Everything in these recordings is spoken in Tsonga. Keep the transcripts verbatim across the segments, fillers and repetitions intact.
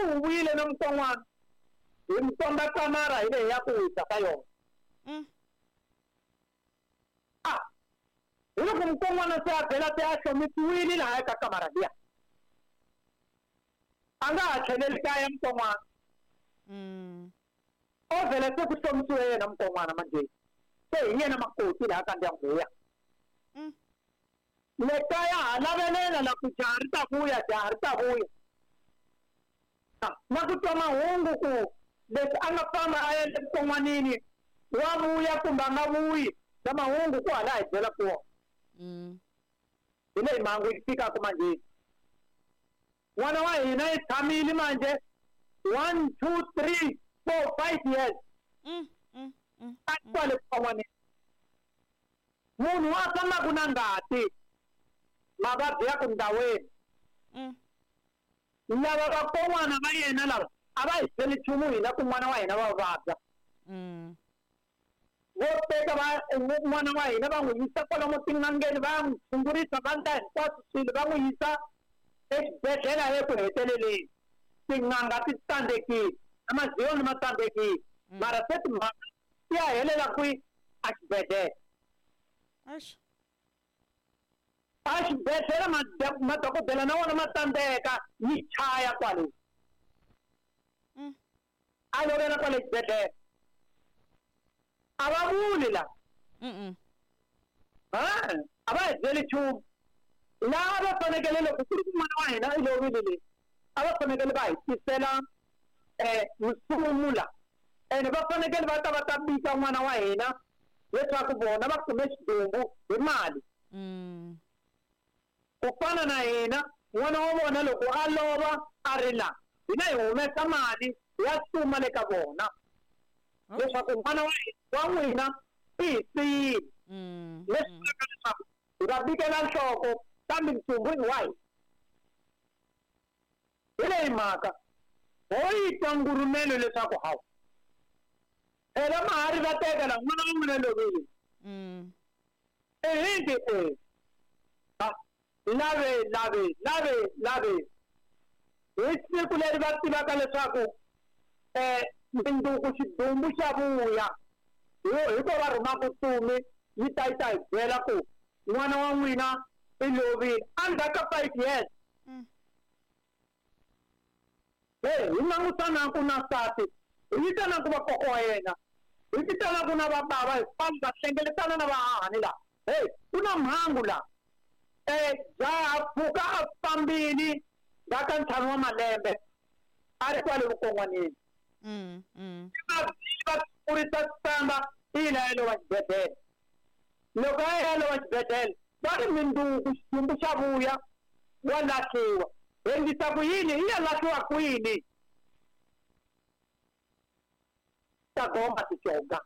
Siku hu vuyile na mukon'wana hi mi komba kamara hi leyi ya ku wisa ka yona. Mm. A hi loko mukon'wana se a vhela se a hlomisiwile laha eka kamara liya. A nga ha tlheleli kaya mukon'wana. Mm. O vhela se ku hlomisiwe yena mukon'wana manjhe. Se hi yena makoti laha ka ndyangu luya. Mm. Le kaya ha lavelela la ku jaha ri ta vuya, jaha ri ta vuya. Na ku twa mahungu ku leswi a nga famba a ya evuton'wanini wa vuya kumbe a nga vuyi, na mahungu ku hala hi byela kona. Mm. Hi leyi mhangu yi fikaka manjhe. N'wana wa hina i tshamile manjhe one, two, three, four, five years. Mm, mm, mm, A ri kwale vuton'wanini. Munhu wa fambaka na ngati, mavabyi ya ku ndhawini. Mm. Lava vakon'wana va yena lava a va hi byeli nchumu hina ku n'wana wa hina va vabya. Mm. Vo teka va n'wana wa hina va n'wi yisa kwalomu tin'angeni, va n'wi tshungurisa, va endla hinkwaswo swilo, va n'wi yisa exibedhlele eku heteleleni. Tin'anga ti tsandzekile, na maziyoni ma tsandzekile. Mm. Mara se timhaka ti ya helela kwihi? Exibedhlele. Eish. A xibedhlele madokodela na wona ma tsandzeka, yi chaya kwale. Mm. A lovela kwale xibedhlele. A va vuli la. Mm-mm. Ha? A va hi byeli nchumu. Laha va fanekele loko ku ri ku n'wana wa hina i lovile le, a va fanekele va hi tisela, eh, nsumu la. Ene va fanekele va ta va ta bika n'wana wa hina leswaku vona va kume xidumbu hi mali. Mm. Ku fana na hina, n'wana wa vona loko a lova a ri la, hina hi humesa mali ya suma le ka vona. Okay. Leswaku n'wana wa hina, wa n'wina i hi siyile. Mm, Leswi mm. vulaka leswaku hi va bikela nhloko kambe ntsumbu i wa hina. Hi leyi mhaka ho yi twa ngurumelo leswaku hawu phela mahari va teka la n'wana wa n'wina lovile. Mm. Ehinti e lave lave lave lave hi siku leri va tivaka leswaku eh minduku xidumbu xa vuya, hi ko va rhumaka ntsumi yi ta yi ta hi byela ku n'wana wa n'wina i lovile endzhaku ka five years. Mm. Hey, hi langutana ku na nsati, hi vitana ku va kokwa wa yena, hi vitana ku na va bava, hi famba hlengeletana na vahahani laha. Hey, ku na mhangu laha. Eh, jaha pfuka a fambile ndzhaku ka ntlhanu wa malembe a ri kwale vukon'wanini. Mm, mm. Va va kurisa samba i la ya lova xibedhlele. Loko a ya lova xibedhlele, va ri minduku xidumbu xa vuya wa lahliwa. Hi endlisa ku yini? I ya lahliwa kwini? Ta goma ticonga.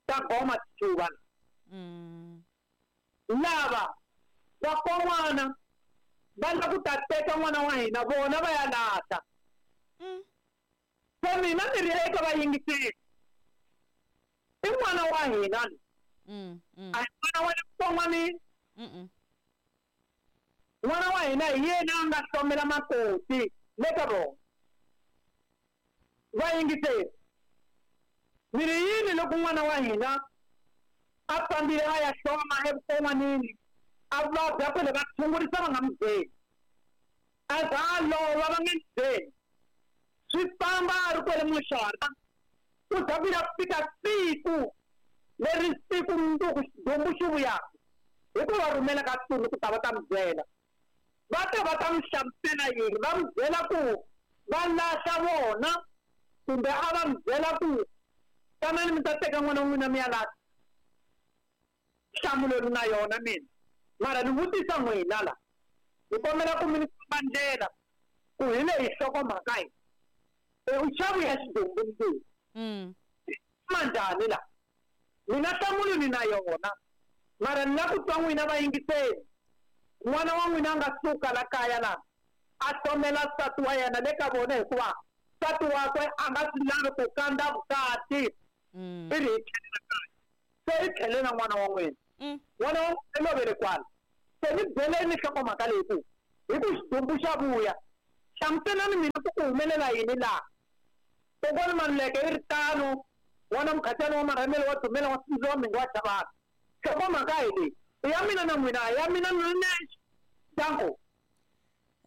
Ta goma ticuva. Mm. Lava vakon'wana va lava ku ta teka n'wana wa hina vona va ya lahla. Mm. Se mina ni ri eka vayingiseri, i n'wana wa hina. Mm, mm. A hi n'wana wa le vukon'wanini. Mm-mm. N'wana wa hina hi yena a nga hlomela makoti le ka vona. Vayingiseri, ni ri yini loko n'wana wa hina a fambile a ya hloma evuton'wanini, a vabya kwale va tshungurisa va nga n'wi byeli, a za a lova va nga n'wi byeli, swi famba a ri kwale muxaka, ku za ku ya fika siku leri siku mundzuku xidumbu xi vuyaka, hi ku va rhumela ka ntsumi ku ta va ta n'wi byela. Va ta va ta n'wi hlamusela yini? Va n'wi byela ku va lahla vona, kumbe a va n'wi byela ku tanani mi ta teka n'wana wa n'wina mi ya lahla. Nhlamulo ni na yona mina, mara ni vutisa n'wina la, ni kombela ku mi ni komba ndlela ku hi leyi nhlokomhaka yi. E, u xa vuya xidumbu mundzuku. Mm. Ma njhani la? Mina nhlamulo ni na yona, mara ni lava ku twa n'wina vayingiseri. N'wana wa n'wina a nga suka la kaya la, a hlomela nsati wa yena le ka vona, hikuva nsati wakwe a nga swi lavi ku kandza vukati. Mm. I ri hi tlhelela kaya. Se i tlhele na n'wana wa n'wina. Mm. N'wana wa n'wina i lovele kwala. Se ni byeleni nhlokomhaka leyi ku hi ku xidumbu xa vuya, Hlamuselani mina ku ku humelela yini laha. Kokwani Maluleke i ri tano, n'wana Mukhatsani wa Marhamelo wa Dumela wa Sindzo wa Mhinga wa Chavani. Nhlokomhaka hi leyi, i ya mina na n'wina, a ya mina ni ri nexe. Danko.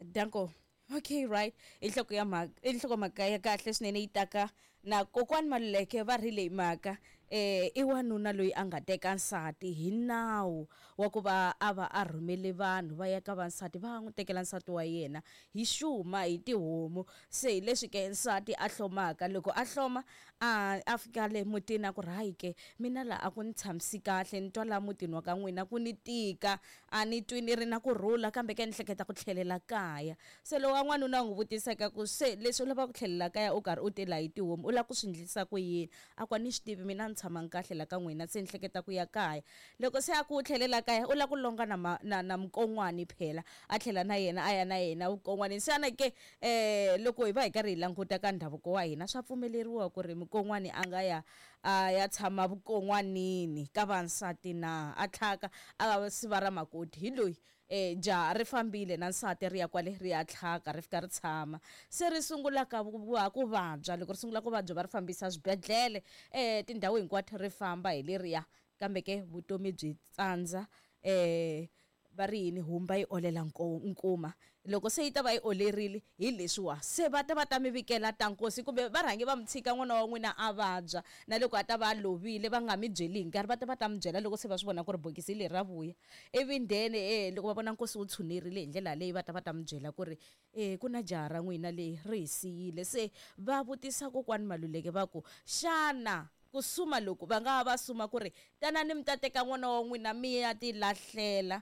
Danko. Okay, right. I nhloko ya mhaka, i nhlokomhaka ya kahle swinene yi taka na kokwani Maluleke va ri leyi mhaka eh i wanuna loyi a nga teka nsati hi nawu wa ku va a va a rhumele vanhu va ya ka vansati va n'wi tekela nsati wa yena hi xuma hi tihomu. Se hi leswi ke nsati a hlomaka, loko a hloma a a fika le mutini a ku ri hayi ke mina laha a ku ni tshamisi kahle, ni twa laha mutini wa ka n'wina ku ni tika, a ni twi ni ri na kurhula, kambe ke ni hleketa ku tlhelela kaya. Se lowa n'wanuna n'wi vutisaka ku se leswi u lavaka ku tlhelela kaya u karhi u tela hi tihomu u lava ku swi endlisa ku yini? A ku a ni swi tivi mina ni tshamangi kahle la ka n'wina, se ni hleketa ku ya kaya. Loko se a ku u tlhelela kaya u lava ku longa na ma, na, na mukon'wani phela, a tlhela na yena a ya na yena vukon'wanini. Xana ke eh loko hi va hi karhi hi languta ka ndhavuko wa hina swa pfumeleriwa ku ri mukon'wani a nga ya a ya tshama vukon'wanini ka vansati na a tlhaka a siva ra makoti hi loyi eh jaha ri fambile na nsati ri ya kwale ri ya tlhaka ri fika ri tshama se ri sungula ka ku vabya. Loko ri sungula ku vabya va ri fambisa swibedhlele eh tindhawu hinkwato ri famba hi leriya, kambe ke vutomi byi tsandza eh va ri yini humba yi olela nkuma. Loko se yi ta va yi olerile hi leswiwa se va ta va ta mi vikela ta nkosi, kumbe va rhange va mi tshika n'wana wa n'wina a vabya, na loko a ta va a lovile va nga mi byeli hi nkarhi, va ta va ta mi byela loko se va swi vona ku ri bokisi leri ra vuya. Ivi then eh loko va vona nkosi wu tshunerile hi ndlela leyi va ta va ta mi byela ku ri eh ku na jaha ra n'wina leyi ri hi siyile. Se va vutisa kokwani Maluleke va ku xana ku suma loko va nga va suma ku ri tanani mi ta teka n'wana wa n'wina mi ya ti lahlela,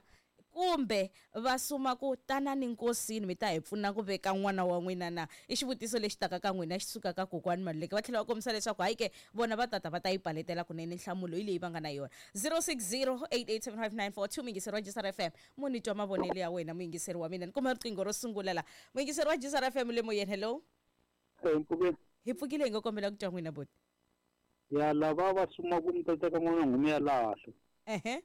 kumbe va suma ku tanani nkosini mi ta hi pfuna ku veka n'wana wa n'wina na? I xivutiso lexi taka ka n'wina xi suka ka kokwani Maluleke. Va tlhela va kombisa leswaku hayi ke vona va tata va ta yi paletela kunene nhlamulo hi leyi va nga na yona. zero six zero eight eight seven five nine four two muyingiseri wa G S R F M. Munhu twa mavonelo ya wena muyingiseri wa mina. Ni kuma riqingho ro sungula la. Muyingiseri wa G S R F M le moyeni, hello. Hi pfukile hi nga kombela ku twa n'wina boti. Ya lava va suma ku mi ta teka n'wana n'hwina ya lahla. Ehe.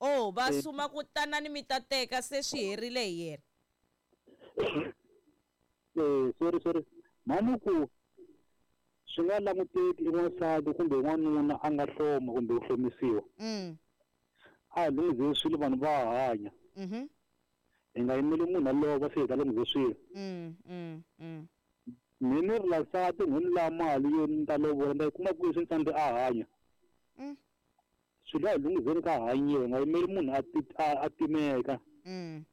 Oh, va suma ku tanani mi ta teka se swi herile hi yena. Eh, sorry sorry. Mani ku swi nga languteki n'wansati kumbe n'wanuna a nga hloma kumbe ku hlomisiwa. Mm. A lunghize swilo vanhu va hanya. Mhm. Hi nga yimeli munhu a lova se hi ta lunghize swilo. Mm, mm, mm. Mina ni ri la nsati n'wi ni la mali yo ni ta lovola ni ta yi kuma kwihi swi ni a hanya. Mm. Swilo a hi lunghizeni ka hanyiwa, nga yimeli munhu a a timeka. Mm.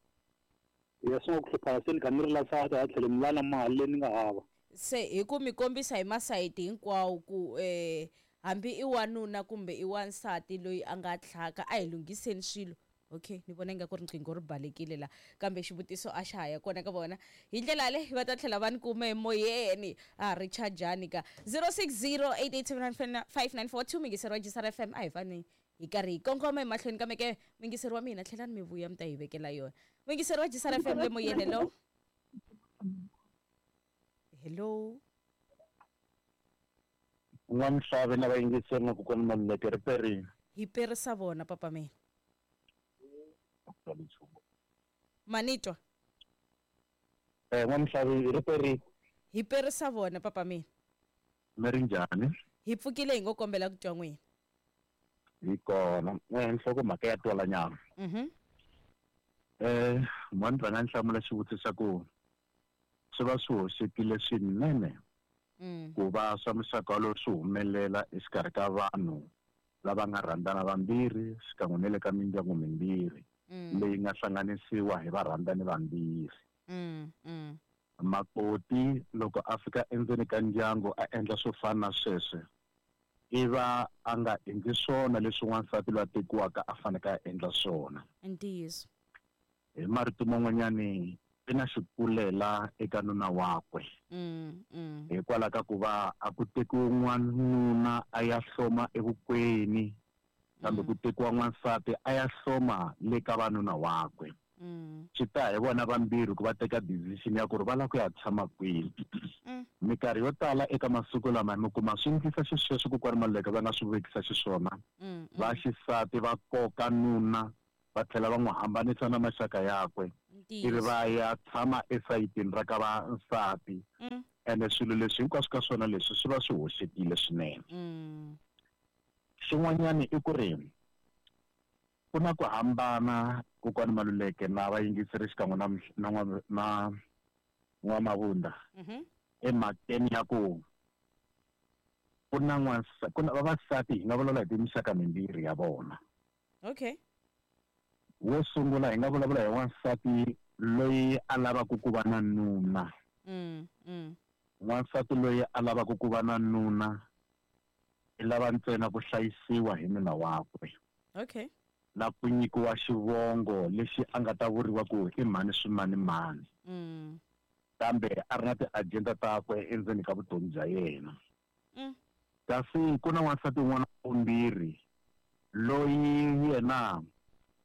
Ya swi nga ku hluphana se ni kha ni ri la nsati a tlhele ni la na mali leyi ni nga hava. Se hi ku mi kombisa hi masayiti hinkwawo ku eh hambi i wanuna kumbe i wansati loyi a nga tlhaka a hi lunghiseni swilo. Okay, ni vona ingaku riqingho ri balekile la, kambe xivutiso a xa ha ya kona ka vona. Hi ndlela leyi va ta tlhela va ni kuma emoyeni a ri chajani ka zero six zero eight eight seven nine five nine four two muyingiseri wa G S R F M. A hi fani hi karhi hi kongoma emahlweni, kambe ke muyingiseri wa mina tlhelani mi vuya mi ta hi vekela yona. Muyingiseri wa G S R F M le moyeni, hello. Hello. N'wamhlave na vayingiseri na kokwani Maluleke ri perile. Hi perisa vona papa mina. Manitwa. Eh n'wamhlave ri perile. Hi perisa vona papa mina. Mi ri njhani? Hi pfukile hi ngo kombela ku twa n'wina. Hi kona. Eh nhlokomhaka ya twala nyama. Mhm. Eh mani rhanga ni hlamula xivutiso xa ku swi va swi hoxekile swinene Mm. ku va swa muxaka walowo swi humelela exikarhi ka vanhu lava nga rhandzana vambirhi xikan'we na le ka mindyangu mimbirhi Mm. leyi nga hlanganisiwa hi varhandzani vambirhi. Mm, mm. Makoti loko a fika endzeni ka ndyangu a endla swo fana na sweswo, i va a nga endli swona leswi n'wansati loyi a tekiwaka a faneke a endla swona. Ntiyiso. Hi marito man'wanyani i na xikulela eka nuna wakwe. Mm, mm. Hikwalaho ka ku va a ku tekiwe n'wanuna a ya hloma evukweni, kambe ku tekiwa n'wansati a ya hloma le ka vanuna wakwe. Mm. Swi ta hi vona vambirhi ku va teka decision ya ku ri va lava ku ya tshama kwihi. Mm. Minkarhi yo tala eka masiku lama mi kuma swi endlisa xisweswo kokwani Maluleke va nga swi vekisa xiswona. Mm, Va xisati va koka nuna va tlhela va n'wi hambanisa na maxaka yakwe. Ivi va ya tshama esayitini ra ka va nsati. Ene swilo leswi hinkwaswo ka swona leswi swi va swi hoxekile swinene. Xin'wanyana i ku ri ku na ku hambana Kokwani Maluleke na vayingiseri xikan'we na na na N'wamavunda emhakeni ya ku ku na n'wansa ku na vavasati hi nga vulavula hi tinxaka mimbirhi ya vona. Okay. Wo sungula hi nga vulavula hi wansati loyi a lavaka ku va na nuna. Mm, mm. Wansati loyi a lavaka ku va na nuna i lava ntsena ku hlayisiwa hi nuna wakwe. Okay. Na ku nyikiwa xivongo lexi a nga ta vuriwa ku i mhani swimanimani. Mm. Kambe a ri na ti-agenda takwe endzeni ka vutomi bya yena. Mm. Kasi ku na wansati un'wana wa vumbirhi loyi yena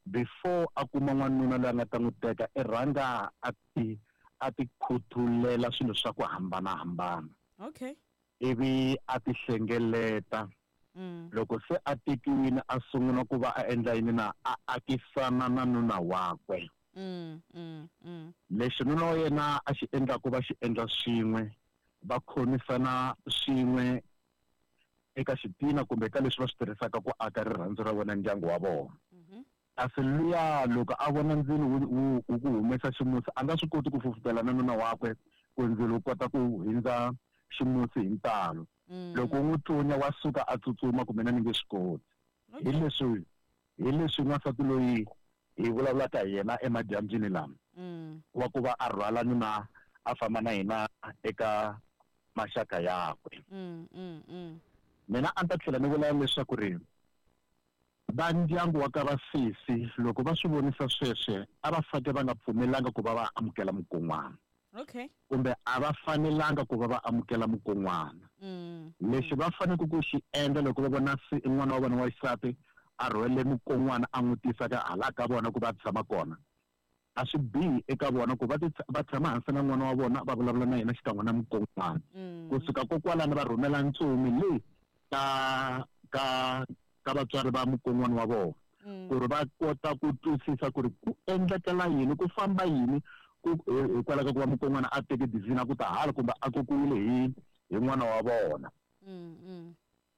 before a kuma n'wanuna loyi a nga ta n'wi teka i rhanga a ti a ti khuthulela swilo swa ku hambanahambana. Okay. Ivi a ti hlengeleta. Mm. Loko se a tekiwile a sungula ku va a endla yini na a akisana na nuna wakwe. Mm, mm, mm. Lexi nuna wa yena a xi endlaku va xi endla swin'we, va khomisana swin'we eka xitina kumbe ka leswi va swi tirhisaka ku aka rirhandzu ra vona ndyangu wa vona. Kasi luya loko a vona ndzilo wu wu wu ku humesa ximusi a nga swi koti ku fufutela na nuna wakwe ku ndzilo wu kota ku hindza ximusi hi ntalo. Loko u n'wi tlunya wa suka a tsutsuma kumbe na ni nge swi koti. Hi leswi hi leswi n'wansati loyi hi vulavulaka hi yena emadyambyini lama wa ku va a rhwala nuna a famba na yena eka maxaka yakwe. Mina a ni ta tlhela ni vula leswaku ri va ndyangu wa ka vasesi loko va swi vonisa sweswe a va fake va nga pfumelanga ku va va amukela mukon'wana. Okay. Kumbe a va fanelanga ku va va amukela mukon'wana. Lexi va faneleke ku xi endla loko va vona n'wana wa vona wa xisati a rhwele mukon'wana a n'wi tisa ka hala ka vona ku va tshama kona, a swi bihi eka vona ku va va tshama hansi na n'wana wa vona va vulavula na yena xikan'we na mukon'wana. Kusuka kokwalano va rhumela ntsumi leyi ka ka ka vatswari va mukon'wana wa vona ku ri va kota ku twisisa ku ri ku endlekela yini, ku famba yini ku hikwalaho ka ku va mukon'wana a teke decision a ku ta hala kumbe a kokiwile hi hi n'wana wa vona.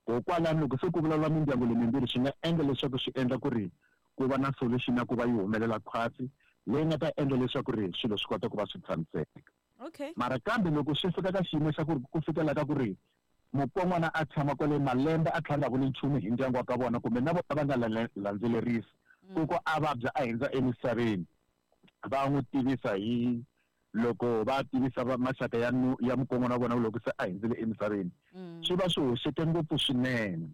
Kokwalano loko se ku vulavula mindyangu leyi mimbirhi swi nga endla leswaku swi endla ku ri ku va na solution ya ku va yi humelela khwatsi leyi nga ta endla leswaku ri swilo swi kota ku va swi tshamiseka. Okay. Mara kambe loko swi fika ka xiyimo xa ku ri ku fikela ka ku ri mukon'wana a tshama kwale malembe a tlhela a nga vuli nchumu hi ndyangu wa ka vona kumbe na vona va nga landzelerisi ku ko a vabya a hindza emisaveni, va n'wi tivisa hi loko va tivisa maxaka ya ya mukon'wana wa vona loko se a hindzile emisaveni, swi va swi hoxeke ngopfu swinene.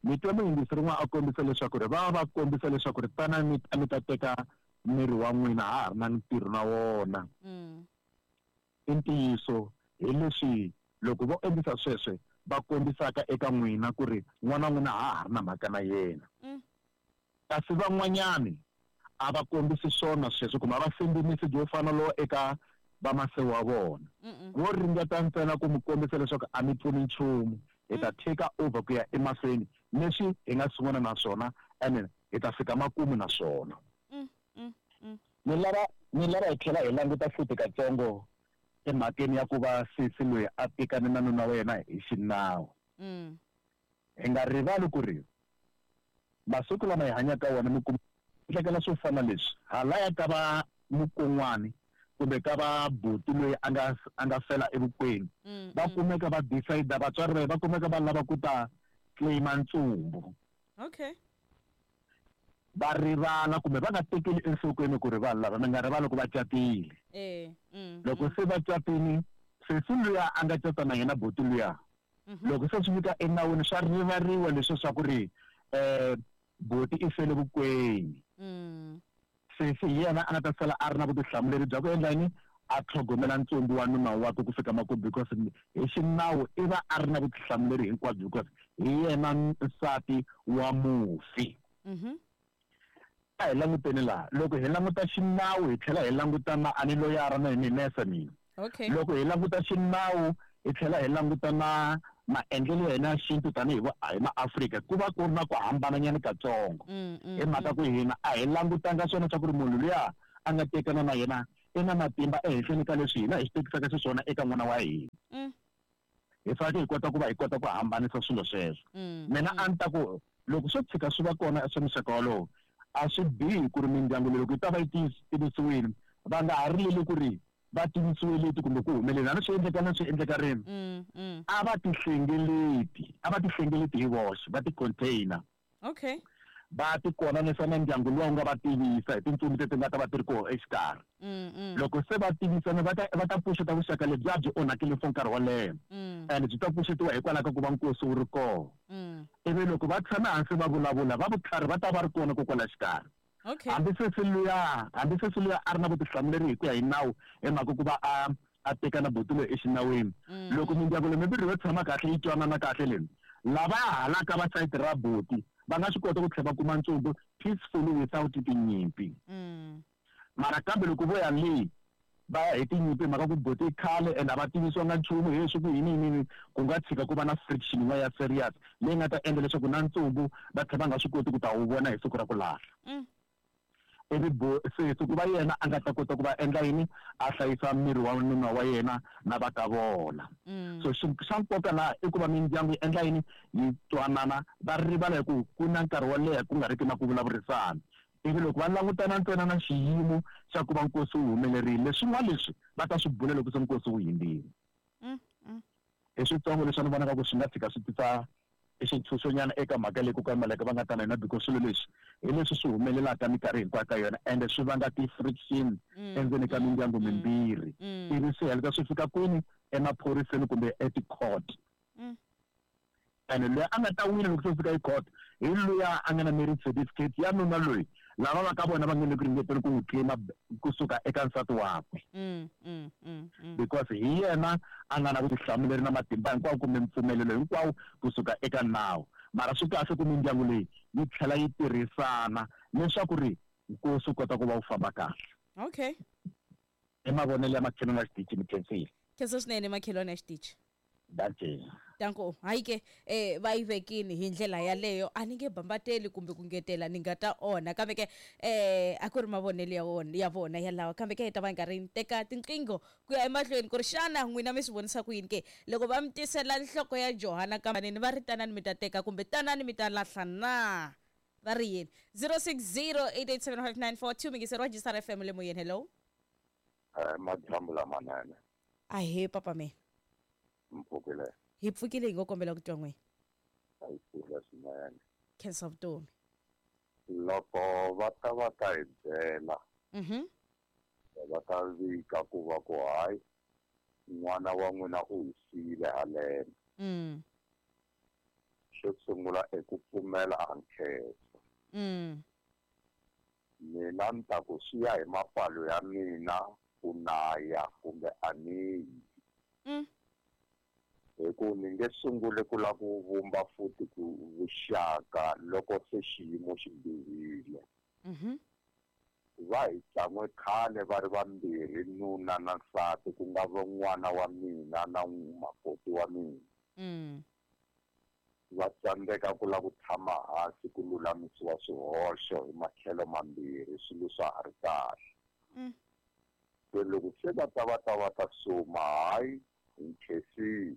Ni twa muyingiseri un'wana a kombisa leswaku ri va va kombisa leswaku ri tana mi ta mi ta teka miri wa n'wina ha ha ri na ntirho na wona. I ntiyiso hi leswi loko vo endlisa sweswe va kombisaka eka n'wina ku ri n'wana wa n'wina ha ha ri na mhaka na yena. Kasi van'wanyani a va kombisi swona sweswo kumbe a va sendi message wo fana lowo eka vamasewu wa vona. Vo ringeta ntsena ku mi kombisa leswaku a mi pfuni nchumu, hi ta take over ku ya emahlweni leswi hi nga sungula na swona and hi ta fika makumu na swona. Ni lava ni lava hi tlhela hi languta futhi katsongo emhakeni ya ku va sesi loyi a tekane na nuna wa yena hi xinawu. Hi nga rivali ku ri masiku lama hi hanyaka wona mi kuma endlekela swo fana leswi halaya ka va mukon'wani kumbe ka va buti loyi a nga a nga fela evukweni va kumeka va decide vatswari va va kumeka va lava ku ta claima ntsumbu. Okay. Va rivala kumbe va nga tekeli enhlokweni ku ri vanhu lava mi nga rivali ku va catile. Eh, mm, loko se va catini sesi luya a nga cata na yena buti luya loko se swi fika enawini swa rivariwa leswi swa ku ri um buti i fele vukweni. Sesi hi yena a nga ta sala a ri na vutihlamuleri bya ku endla yini, a tlhogomela ntsumbu wa nuna wakwe ku fika makumu because hi xinawu i va a ri na vutihlamuleri hinkwabyo because hi yena nsati wa mufi. A hi languteni laha loko hi languta xinawu hi tlhela hi languta na a ni loyara na hi nese mina. Okay. Loko hi languta xinawu hi tlhela hi languta na maendlelo ya hina ya xintu tanihi hi maAfrika ku va ku ri na ku hambananyana katsongo. Hi mhaka ku hina a hi langutanga swona swa ku ri munhu luya a nga tekana na yena i na matimba ehenhleni ka leswi hina hi swi tekisaka xiswona eka n'wana wa hina. Hi fanekele hi kota ku va hi kota ku hambanisa swilo sweswo. Mina a ni ta ku loko swo tshika swi va kona swa muxaka wolowo a swi bihi ku ri mindyangu leyi loko yi ta va yi tivisiwile va nga ha rileli ku ri va tivisiwe leti kumbe ku humelela na swi endleka na swi endleka rini. A va tihlengeleti a va tihlengeleti hi voxe va ti-container. Okay. Va ti konanisa na ndyangu luwa wu nga va tivisa hi tintsumi leti nga ta va ti ri kona exikarhi. Loko se va tivisana va ta va ta pfuxeta vuxaka lebyi a byi onhakile for nkarhi wo leha. And byi ta pfuxetiwa hikwalaho ka ku va nkosi wu ri kona. Ivi loko va tshama hansi va vulavula va vutlhari va ta va ri kona kokwala xikarhi. Okay. Hambi sesi luya hambi sesi luya a ri na vutihlamuleri hi ku ya hi nawu hi mhaka ku va a a teka na buti loyi exinawini. Loko mindyangu leyi mimbirhi yo tshama kahle yi twanana kahle leyi lava halaka va sayiti ra buti va nga swi kota ku tlhela va kuma ntsumbu peacefully without tinyimpi. Mara kambe loko vo ya le va ya hi tinyimpi mhaka ku buti i khale and a va tivisiwanga nchumu hi leswi ku yini yini ku nga tshika ku va na friction yin'wana ya serious leyi nga ta endla leswaku na ntsumbu va tlhela va nga swi koti ku ta wu vona hi siku ra ku lahla. Ivi sesi ku va yena a nga ta kota ku va endla yini a hlayisa miri wa nuna wa yena na va ka vona. So xa nkoka laha i ku va mindyangu yi endla yini yi twanana va rivala hi ku ku na nkarhi wo leha ku nga ri ki na ku vulavurisana. Ivi loko va langutana ntsena na xiyimo xa ku va nkosi wu humelerile leswin'wana leswi va ta swi bula loko se nkosi wu hundzile. Hi switsongo leswi ni vonaka ku swi nga tshika swi tisa i xitshunxonyana eka mhaka leyi kokwani Maluleke va nga ta na yona because swilo leswi hi leswi swi humelelaka minkarhi hinkwayo ka yona ende swi vanga ti-friction endzeni ka mindyangu mimbirhi. Ivi swi heleta swi fika kwini emaphoriseni kumbe eti-court. Ene loyi a nga ta wina loko se fika e-court hi luya a nga na marriage certificate ya nuna loyi lava va ka vona va nge le ku ringeteni ku n'wi claim kusuka eka nsati wakwe. Because hi yena a nga na vutihlamuleri na matimba hinkwawo kumbe mpfumelelo hinkwawo kusuka eka nawu. Mara swi kahle ku mindyangu leyi yi tlhela yi tirhisana leswaku ri nkosi wu kota ku va wu famba kahle. Okay. I mavonelo ya makhelwani wa xitichi mi khensile. Khensa swinene makhelwani ya xitichi. Dankie. Danko hayi ke eh va yi vekini hi ndlela yaleyo a ni nge bambateli kumbe ku ngetela ni nga ta onha kambe ke eh a ku ri mavonelo ya wona ya vona yalawa kambe ke hi ta va nkarhi ni teka tinqingho ku ya emahlweni ku ri xana n'wina mi swi vonisa ku yini ke loko va mi tisela nhloko ya Johanna kambaneni va ri tanani mi ta teka kumbe tanani mi ta lahla na va ri yini zero six zero eight eight seven five nine four two mingiseri wa G S R F M le moyeni. Hello. Eh madyambu lamanene. Ahee papa me. Mpfukile. Hi pfukile hi ngo kombela ku twa n'wina. A yi pfula swinene. Khensa vutomi. Loko va ta va ta hi byela Mhm. va ta vika ku va ku hayi n'wana wa n'wina u hi siyile haleno. Mm. Xo sungula i ku pfumela a nkhensa. Mm. Mina ni ta ku swi ya hi mapfalo ya mina ku na ya kumbe a ni yi. Mm. Hi ku ni nge sunguli ku lava ku vumba futhi ku vuxaka loko se xiyimo xi bihile. Mhm. Va hi tsan'we khale va ri vambirhi nuna na nsati ku nga va n'wana wa mina na makoti wa mina. Mm. Va tsandzeka ku lava ku tshama hansi ku lulamisiwa swihoxo hi matlhelo mambirhi swilo swa ha ri kahle. Mm. Se loko se va ta va ta va ta suma hayi hi nkhensile.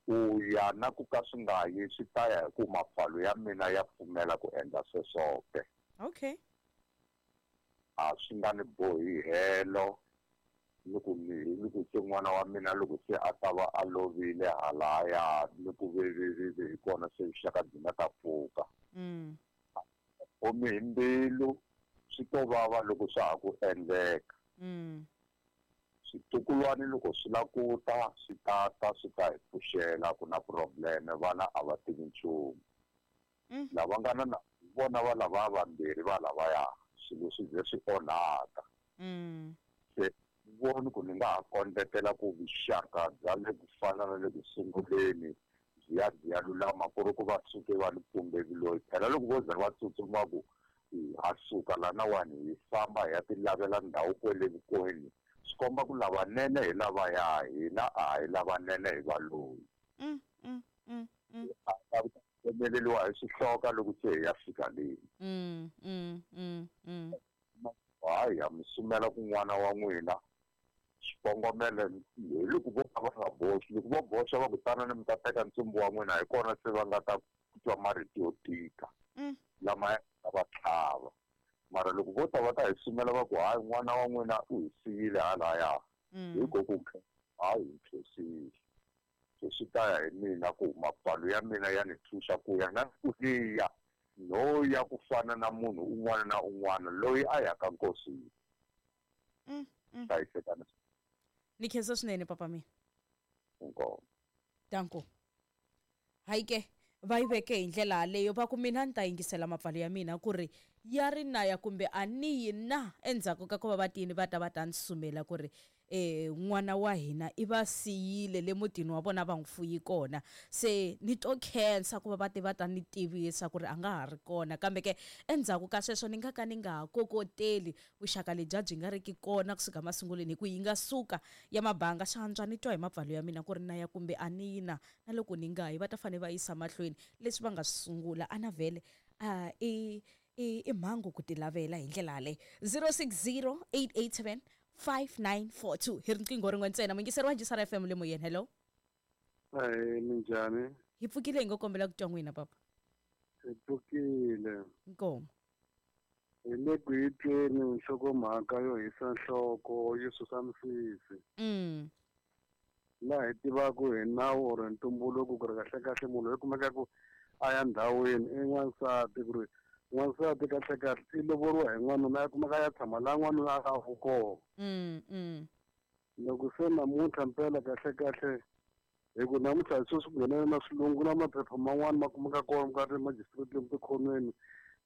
Ku ya na ku ka swi nga yi swi ta ya hi ku mapfalo ya mina ya pfumela ku endla sweswo ke. Okay. A swi nga ni bohi helo ni ku ni ni ku se n'wana wa mina loko se a ta va a lovile halaya ni ku vevevivi hi kona se vuxaka byi nga ta pfuka. Mm. Omi hi mbilu swi to vava loko swa ha ku endleka. Mm. Switukulwana loko swi la ku ta swi ta ta swi ta hi pfuxela ku na problem vana a va tivi nchumu. Mm. Lava nga na vona va lava vambirhi va lavaya swilo swi ze swi onhaka. Mm. Se voni ku ni nga ha kondletela ku vuxaka bya le ku fana na le ku sunguleni byi ya byi ya lulama ku ri ku va suke va ni pumbeli loyi phela loko vo za va tsutsuma ku ha suka lanawani hi famba hi ya ti lavela ndhawu kwele vukweni swi komba ku lavanene hi lavaya hina a hi lavanene hi valoyi. Mm, mm, mm, mm. A ta tsemeleriwa hi swihloka loko se hi ya fika le. Mm, mm, mm, mm. hayi ha mi sumela ku n'wana wa n'wina xikongomelo hi loko vo ka va nga boxi loko vo boxa va ku tanani mi ta teka ntsumbu wa n'wina hi kona se va nga ta twa marito yo tika lama ya va tlhava mara loko vo ta va ta hi sumela va ku hayi n'wana wa n'wina u hi siyile halaya hi ko ku hayi hi khensile se swi ta ya hi mina ku mapfalo ya mina ya ni thuxa ku ya na ku liya no ya ku fana na munhu un'wana na un'wana loyi a yaka nkosini hlayisekani ni khensa swinene papa mina inkomu danko hayi ke va yi veke hi ndlela yaleyo va ku mina ni ta yingisela mapfalo ya mina ku ri ya ri na ya kumbe a ni yi na endzhaku ka ku va va tini va ta va ta ni sumela ku ri eh n'wana wa hina i va siyile le mutini wa vona va n'wi fuyi kona se ni to khensa ku va va ti va ta ni tivisa ku ri a nga ha ri kona kambe ke endzhaku ka sweswo ni nga ka ni nga ha kokoteli vuxaka lebya byi nga riki kona kusuka masungulweni hi ku yi nga suka ya mabanga swa antswa ni twa hi mapfalo ya mina ku ri na ya kumbe a ni yi na na loko ni nga yi va ta fanele va yisa mahlweni leswi va nga swi sungula a na vhele a i i i mhangu ku ti lavela hi ndlela yaleyo zero six zero eight eight seven five nine four two hi riqingho rin'we ntsena muyingiseri wa Njisara F M le moyeni hello ahee minjhani hi pfukile hi ngo kombela ku twa n'wina papa hi pfukile inkomu hi le ku yi tweni nhlokomhaka yo hisa nhloko yo susa misisi mm laha hi tivaku hi nawu or ntumbuluko ku ri kahlekahle munhu loyi kumekaku a ya ndhawini i n'wansati ku ri n'wansati kahlekahle i lovoriwa hi n'wanuna ya kumeka ya tshama laha n'wanuna a nga kona mm mm loko se namuntlha mpela kahlekahle hi ku namuntlha sweswi ku nghenela na swilungu na maphepha man'wani ma kumeka kona ka ti-magistrate lomu tikhonweni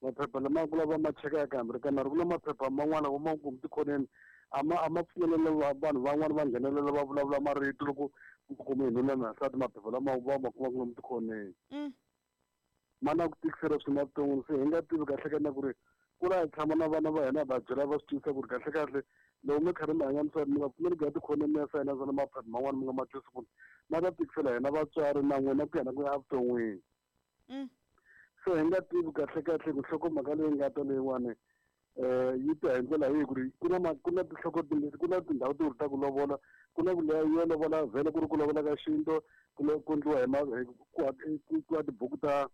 maphepha lama ku lava ma cheka kambirhi ka nharhu ku na maphepha man'wana vo ma kumu tikhonweni a ma a ma pfumelela vanhu van'wani va nghenelela va vulavula marito loko ku kume hi nuna na nsati maphepha lama va ma kumaka lomu tikhonweni mm ma na ku tikisela swinene evuton'wini se hi nga tivi kahle ka na ku ri ku la hi tshama na vana va hina va byela va swi twisisa ku ri kahle kahle loko mi karhi mi hanya misaveni mi nga pfumeli ku ya tikhoneni mi ya sayina na maphepha man'wani mi nga ma twisi ku ma ta tikisela hina vatswari na n'wina ku ya na ku ya evuton'wini mm se hi nga tivi kahle kahle ku nhlokomhaka leyi nga ta leyiwani um yi ta hi ndlela yihi ku ri ku na ku na tinhloko timbirhi ku na tindhawu timbirhi ta ku lovola ku na ku leya yo lovola vhele ku ri ku lovola ka xintu ku ku endliwa hi ku ku tibuku ta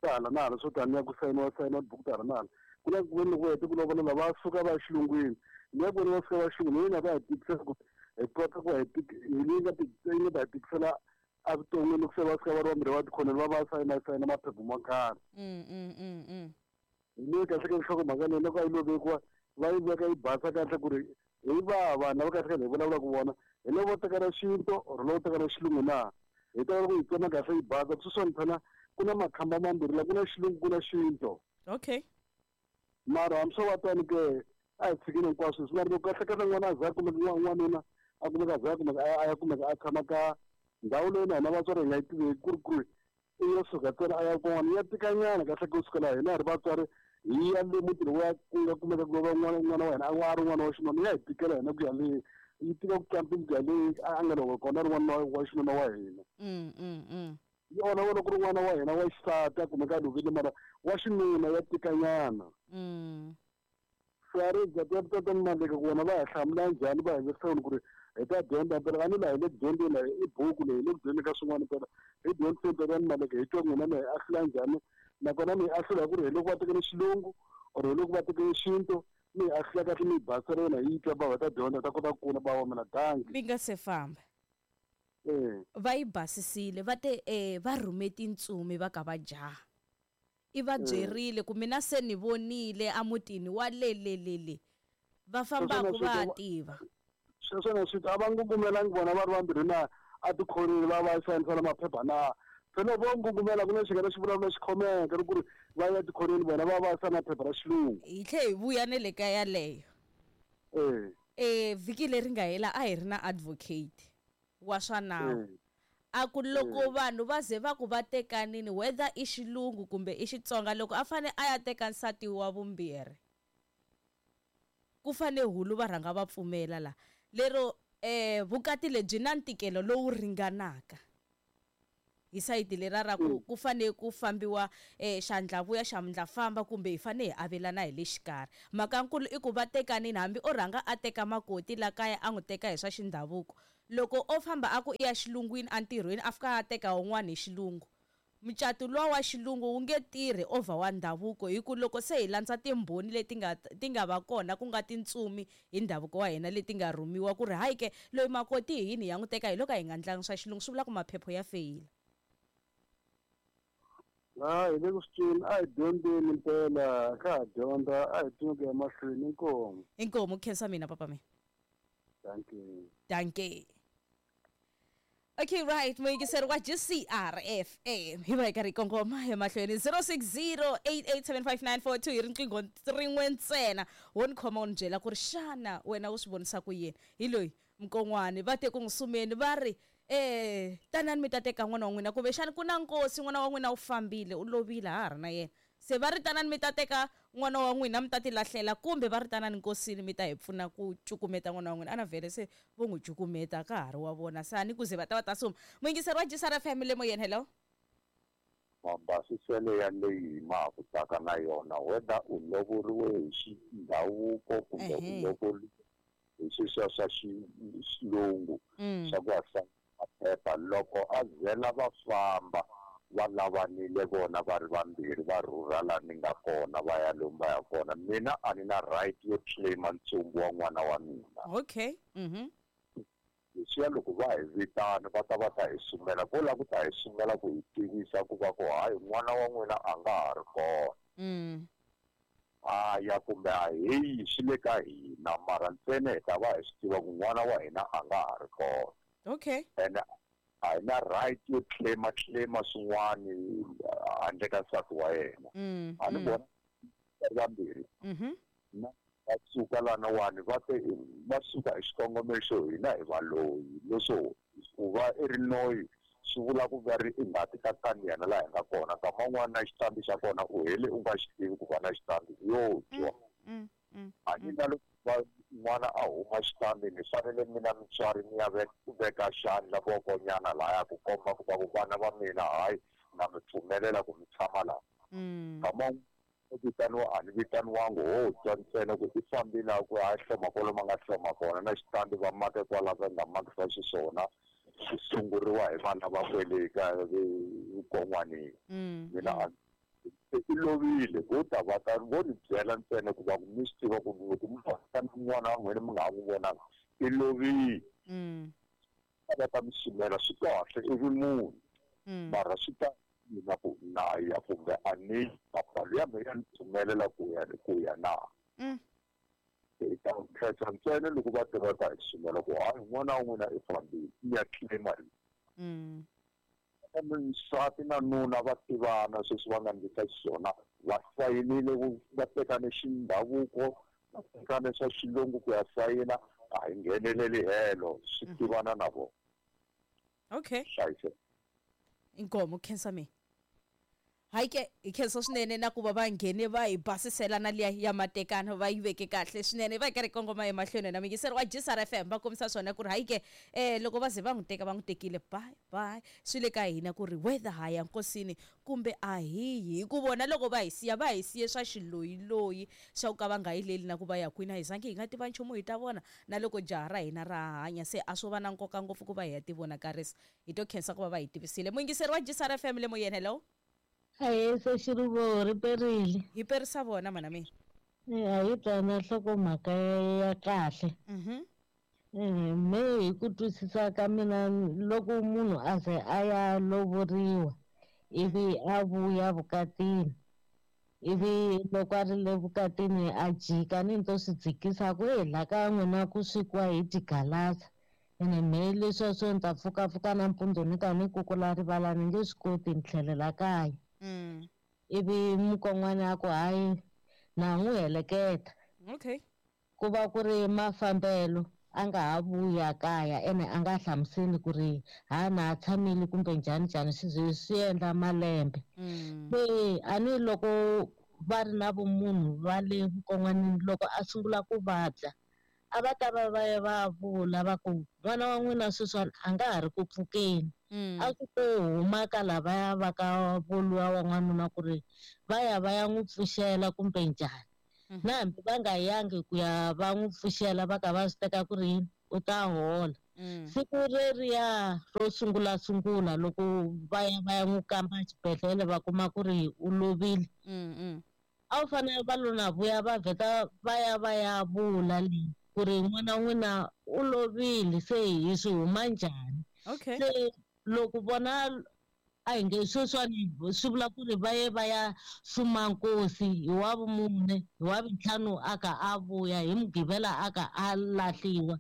ta hala na hala swo taniya ku sayiniwa sayiniwa tibuku ta hala na hala ku na ku veni loko hete ku lovola va suka va ya xilungwini leyi ku veni va suka va xilungwini leyi nga ta hi tikisela ku hi kota ku hi hi leyi nga yi nga ta hi tikisela evuton'wini loko se va suka va ri vambirhi va tikhoneni va va sayina sayina maphepha mo karhi mm mm mm mm hi leyi kahle ka nhlokomhaka leyi loko a yi lo vekiwa va yi veka yi basa kahle ku ri hi va vanhu lava kahle kahle hi vulavulaka vona hi lavo teka ra xintu or lavo teka ra xilungu na hi ta loko hi tsema kahle yi basa sweswiwani phela ku na makhamba mambirhi la ku na xilungu ku na xintu okay mara hambi swo va tani ke a hi tshikini hinkwaswo swi mara loko kahle kahle n'wana a za a kumeka n'wanuna a kumeka a za a kumeka a ya kumeka a tshama ka ndhawu leyi na hina vatswari hi nga yi tiveki ku ri ku ri i yo suka ntsena a ya kun'wana ya tikanyana kahle ku sukela hina hi ri vatswari hi ya le mutini wa ku nga kumeka ku lova n'wana n'wana wa hina a ri n'wana wa xinuna ya hi tikela hina ku ya le yi tika ku tlula ku ya le a nga loko kona ri n'wana wa xinuna wa hina mm mm mm yi olova loko ri n'wana wa hina wa xisati a kumeka a lovile mara wa xinuna ya tikanyana mm swi ri maleka ku vona va hi hlamula njhani va hi vekiseni ku ri hi ta dyondza phela a ni laha hi le ku dyondzeni laha i buku leyi hi le ku dyondzeni ka swin'wana phela hi dyondziseni phela ni maleka hi twa n'wina mi hi ahlula njhani nakona mi hi ahlula ku ri hi loko va tekele xilungu or hi loko va tekele xintu mi hi ahlula kahle mi hi basela yona hi yi twa va ta dyondza ta kota ku kula ba wa mina danki mi nga se famba eh va yi basisile va te eh va rhume tintsumi va ka va jaha i va byerile ku mina se ni vonile emutini wa le le le le va fambaka va tiva sweswo na swi a va ngungumelangi vona va ri vambirhi na a tikhoneni va va sayinisana maphepha na phela vo ngungumela ku na xingana xi vulavula xi khomeka ri ku ri va ya tikhoneni vona va va sayina phepha ra xilungu hi tlhe hi vuya ne le ka yaleyo eh eh vhiki leri nga hela a hi ri na advocate wa swa nawu a ku loko vanhu va ze va ku va tekanini whether i xilungu kumbe i Xitsonga loko a fane a ya teka nsati wa vumbirhi ku fane hulu va rhanga va pfumela la lero eh vukati lebyi na ntikelo lowu ringanaka Hi sayiti lera ra ku ku fanele ku fambiwa eh xandla vuya xandla famba kumbe hi fanele hi avelana hi le xikarhi. Mhakankulu i ku va tekanini hambi o rhanga a teka makoti la kaya a n'wi teka hi swa xindhavuko. Loko o famba a ku i ya xilungwini entirhweni a fika a teka wun'wana hi xilungu. Mucato luwa wa xilungu wu nge tirhi over wa ndhavuko hi ku loko se hi landza timbhoni leti nga ti nga va kona ku nga tintsumi hi ndhavuko wa hina leti nga rhumiwa ku ri hayi ke loyi makoti hi yini hi ya n'wi teka hi loko a hi nga ndlangi swa xilungu swi vula ku maphepho ya feyila. A hi le ku swi tweni a hi dyondzeni mpela ka ha dyondza a hi tweni ku ya mahlweni inkomu. Inkomu khensa mina papa mina. Dankie. Dankie. Okay, right. Muyingiseri wa G C R F M. Hi va hi karhi hi kongoma emahlweni zero six zero eight eight seven five nine four two hi riqingho rin'we ntsena. Wo ni khoma u ni byela ku ri xana wena u swi vonisa ku yini. Hi loyi Mkon'wani va te ku n'wi sumeni va ri eh tanani mi ta teka n'wana wa n'wina kumbexani ku na nkosi n'wana wa n'wina u fambile u lovile ha ha ri na yena. Se va ri tanani mi ta teka n'wana wa n'wina mi ta ti lahlela kumbe va ri tanani nkosini mi ta hi pfuna ku cukumeta n'wana wa n'wina. Ana vhele se vo n'wi cukumeta ka ha ri wa vona se a ni ku ze va ta va ta suma. Muyingiseri wa G C R F M le moyeni, hello. Mabasiselo ya leyi ma ha ku taka na yona whether u lovoriwe hi xindhavuko kumbe u lovoriwe hi sweswiya swa xilungu swa ku hasa maphepha loko a zela va famba va lavanile vona va ri vambirhi va rhurha laha ni nga kona va ya lomu va ya kona mina a ni na right yo claima ntsumbu wa n'wana wa mina. Okay. Mhm. Leswiya loko va hi vitana va ta va ta hi sumela ko lava ku ta hi sumela ku hi tivisa ku va ku hayi n'wana wa n'wina a nga ha ri kona. Mm. A ya kumbe a heyi swi le ka hina mara ntsena hi ta va hi swi tiva ku n'wana wa hina a nga ha ri kona. Okay. And a hi na right yo claima claima swin'wani handle ka nsati wa yena. A ni vona vambirhi na va suka lanawani va te va suka hi xikongomelo xo hina hi valoyi leswo ku va i ri noyi swi vula ku va ri i ngati ka kaniyana laha hi nga kona nkama wun'wana na xitandi xa kona u hele u nga xi tivi ku va na xitandi yo twa. A ni na loko n'wana a huma xitandi ni fanele mina mutswari ni ya veka xandla vokonyana lahaya ku komba ku va ku vana va mina hayi na mi pfumelela ku mi tshama laha. Nkama u vitaniwa a ni vitaniwangi ho twa ntsena ku i fambile a ku a hloma kwalomu a nga hloma kona na xitandi va make kwala va nga makisa xiswona swi sunguriwa hi vana va kwele ka vukon'wanini. Mina a i lovile vo ta va ta vo ni byela ntsena ku va ku mi swi tiva ku loko mi va n'wana wa n'wina mi nga ha n'wi vonanga i lovile. Va ta mi sumela swi kahle i ri munhu mara swi ta mina ku na ya kumbe a ni mapfalo ya me ya ni pfumelela ku ya ku ya na. Hi ta khetha ntsena loko va tiva ta hi sumela ku hayi n'wana wa n'wina i fambile i ya claima. Nsati na nuna va tivana sweswi va nga ndlisa xiswona va sayinile va tekane xindhavuko va tekane swa xilungu ku ya sayina a hi ngheneleli helo swi tivana na vona. Okay. Hlayiseka. Inkomo khensa mina. Hayi ke hi khensa swinene na ku va va nghene va hi basisela na liya ya matekano va yi veke kahle swinene va hi karhi kongoma emahlweni na muyingiseri wa G C R F M va kombisa swona ku ri hayi ke eh loko va ze va n'wi teka va n'wi tekile bye bye swi le ka hina ku ri whether ha ya nkosini kumbe a hi yi hi ku vona loko va hi siya va hi siye swa xiloyiloyi swa ku ka va nga yileli na ku va ya kwini a hi zangi hi nga tiva nchumu hi ta vona na loko jaha ra hina ra hanya se a swo va na nkoka ngopfu ku va hi ya tivonakarisa hi to khensa ku va va hi tivisile. Muyingiseri wa G C R F M le moyeni, hello. Ahee se xiruvo ri perile. Hi perisa vona mana mina. A hi twana nhlokomhaka ya kahle. Mhm. Me hi ku twisisa ka mina loko munhu a ze a ya lovoriwa ivi a vuya vukatini ivi loko a ri le vukatini a jika ni to swi dzikisa ku hi la ka n'wina ku swekiwa hi tigalasa ene me leswiya swo ni ta pfukapfuka nampundzu ni ta ni kukula rivala ni nge swi koti ni tlhelela kaya. Mm. Ivi mukon'wana a ku hayi na n'wi heleketa. Okay. Ku va ku ri mafambelo a nga ha vuya kaya ene a nga hlamuseli ku ri ha na tshamile kumbe njhani njhani swi ze swi endla malembe. Mm. Se a ni loko va ri na vumunhu va le vukon'wanini loko a sungula ku vabya A va ta va va ya va vula va ku n'wana wa n'wina sweswiwani a nga ha ri ku pfukeni. A ku to huma ka lavaya va ka voluwa wa n'wanuna ku ri va ya va ya n'wi pfuxela kumbe njhani. Na hambi va nga yangi ku ya va n'wi pfuxela va ka va swi teka ku ri yini u ta hola. Siku reriya ro sungula sungula loko va ya va ya n'wi kamba xibedhlele va kuma ku ri u lovile. A wu fanele va lo na vuya va vheta va ya va ya vula leyi ku ri n'wana wa n'wina u lovile se hi swi huma njhani. Okay. Se loko vona a hi nge sweswiwani swi vula ku ri va ye va ya suma nkosi hi wa vumune hi wa vuntlhanu a ka a vuya hi mugqivela a ka a lahliwa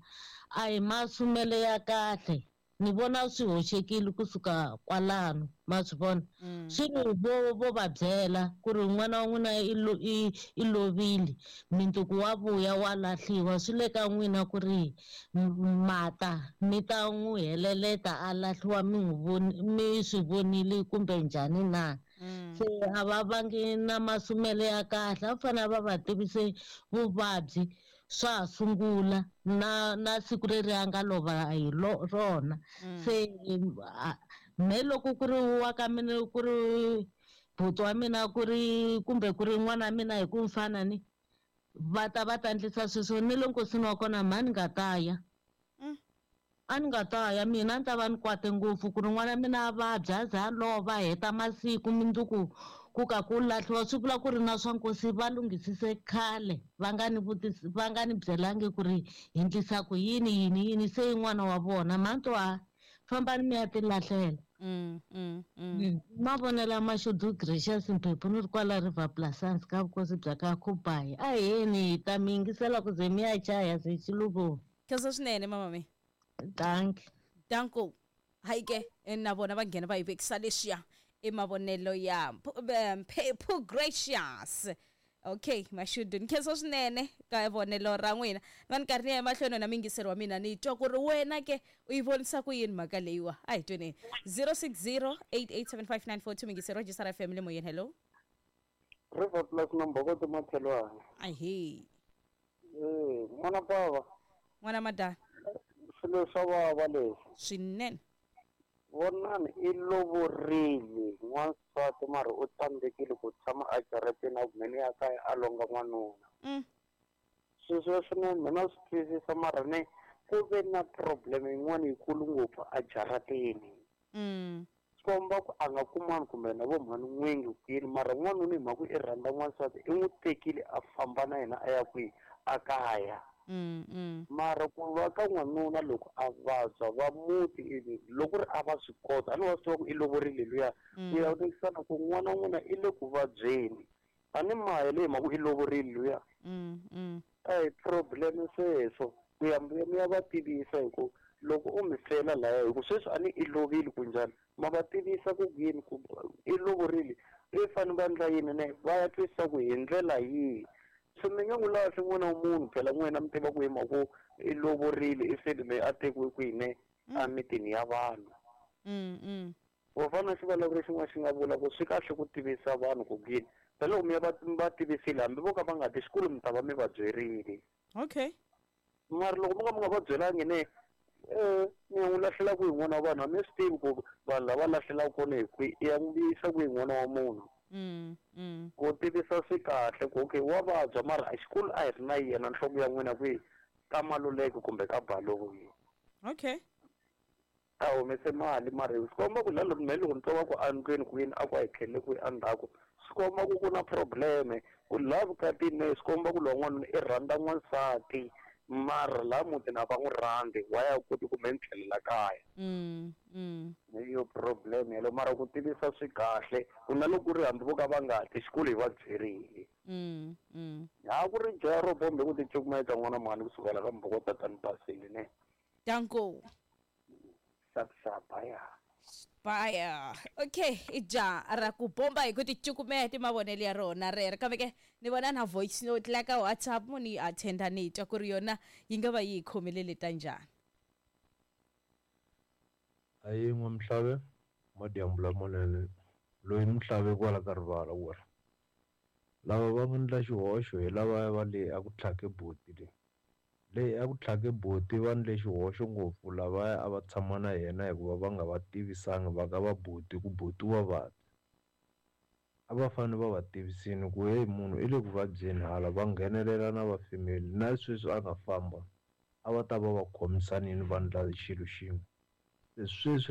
a hi masumele ya kahle. Ni vona swi hoxekile kusuka kwalano ma swi vona. Swi ri vo vo va byela ku ri n'wana wa n'wina i lo i i lovile mundzuku wa vuya wa lahliwa swi le ka n'wina ku ri mata mi ta n'wi heleleta a lahliwa mi n'wi voni mi swi vonile kumbe njhani na. Se a va vangi na masumele ya kahle a fanele va va tivise vuvabyi swa ha sungula na na siku leri a nga lova hi rona. Se me loko ku ri wa ka mina ku ri buti wa mina ku ri kumbe ku ri n'wana wa mina hi ku fana ni va ta va ta endlisa sweswo ni le nkosini wa kona mhani nga ta ya. A ni nga ta ya mina a ni ta va ni kwate ngopfu ku ri n'wana wa mina a vabya a za a lova a heta masiku mundzuku ku ka ku lahliwa swi vula ku ri na swa nkosi va lunghisise khale va nga ni vutisi va nga ni byelangi ku ri hi endlisa ku yini yini yini se i n'wana wa vona mhani to a fambani mi ya ti lahlela. Mavonelo Mashudu Gracious Mphephu ni ri kwala River Plaisance ka vukosi bya ka Khubayi. A heni hi ta mi yingisela ku ze mi ya chaya se xiluvo. Khensa swinene mama me. Dankie. Danko. Hayi ke na vona va nghena va yi vekisa leswiya i mavonelo ya Mphephu Gracious. Okay, Mashudu nkhensa swinene ka vonelo ra n'wina. Va ni karhi ni ya emahlweni na mingiselo wa mina ni twa ku ri wena ke u yi vonisa ku yini mhaka leyiwa. A hi tweneni zero six zero eight eight seven five nine four two mingiselo register F M le moyeni. Hello. River Plus number go to Mathelwana. Ahe. Eh, n'wana bava. N'wana madala. Swilo swa vava leswi. Swinene. Vonani i lovorile n'wansati mara u tsandzekile ku tshama a jarateni a kumeni ya kaya a longa n'wanuna. Sweswo swinene mina swi twisisa mara ne ku ve na problem yin'wana yikulu ngopfu a jarateni. Swi komba ku a nga kumani kumbe na vo mhani n'wingi kwini mara n'wanuna hi mhaka i rhandza n'wansati i n'wi tekile a famba na yena a ya kwihi a kaya. Mara ku va ka n'wanuna loko a vabya va muti loko ri a va swi kota a ni wa swi tiva ku i lovorile luya ku ya vonekisana ku n'wana wa n'wina i le ku vabyeni a ni maya leyi mhaka i lovorile luya. A hi problem sweswo ku ya mi ya va tivisa hi ku loko u mi fela laya hi ku sweswi a ni i lovile ku njhani ma va tivisa ku yini ku i lovorile i fanele va endla yini ne va ya twisisa ku hi ndlela yihi. Se mi nga n'wi lahli n'wana wa munhu phela n'wina mi tiva ku hi mhaka i lovorile i feli leyi a tekiwe kwihi ne emitini ya vanhu. Vo fana xivulavuri xin'wana xi nga vula ku swi kahle ku tivisa vanhu ku yini phela loko mi ya va va tivisile hambi vo ka va nga ti xikolo mi ta va mi va byerile. Okay. Mara loko mo ka mi nga va byelangi ne eh mi ya n'wi lahlela kwihi n'wana wa vanhu a mi swi tivi ku vanhu lava lahlelaka kona hi kwihi i ya n'wi yisa kwihi n'wana wa munhu. Ku tivisa swi kahle ku okay wa vabya mara a xikolo a hi ri na yena nhloko ya n'wina kwihi ka Maluleke kumbe ka Baloyi. Okay. A humese mali mara swi komba ku la loko me loko ni twa va ku endlwini kwini a ku a hi tlhelele kwihi endzhaku swi komba ku ku na probleme ku laha vukatini ne swi komba ku lowa n'wanuna i rhandza n'wansati mara laha mutini a va n'wi rhandzi wa ya koti kumbe ni tlhelela kaya. Hi yo problem yeleyo mara ku tivisa swi kahle ku na loko ku ri hambi vo ka va nga ti xikolo hi va byerile. Ha ku ri jaya ro bombe ku ti cukumeta n'wana mhani kusukela ka mboko tatani basile ne. Danko. Sap sap ya. Baya. Okay, ija ra ku bomba hi ku ti cukumeta mavonelo ya rona rero kambe ke ni vona na voice note la ka WhatsApp mo ni attenda ni twa ku ri yona yi nga va yi khomelele ta njhani. Ayi n'wamhlave madyambu lamanene loyi ni muhlave kwala ka rivala ku ri lava va nga endla xihoxo hi lava va le a ku tlhake buti leyi Leyi a ku tlhake buti va ndle xihoxo ngopfu lavaya a va tshama na yena hikuva va nga va tivisanga va ka va buti ku buti wa vabya. A va fanele va va tivisini ku heyi munhu i le ku vabyeni hala va nghenelela na va family na sweswi a nga famba a va ta va va khomisanile va ndla xilo xin'we. Se sweswi.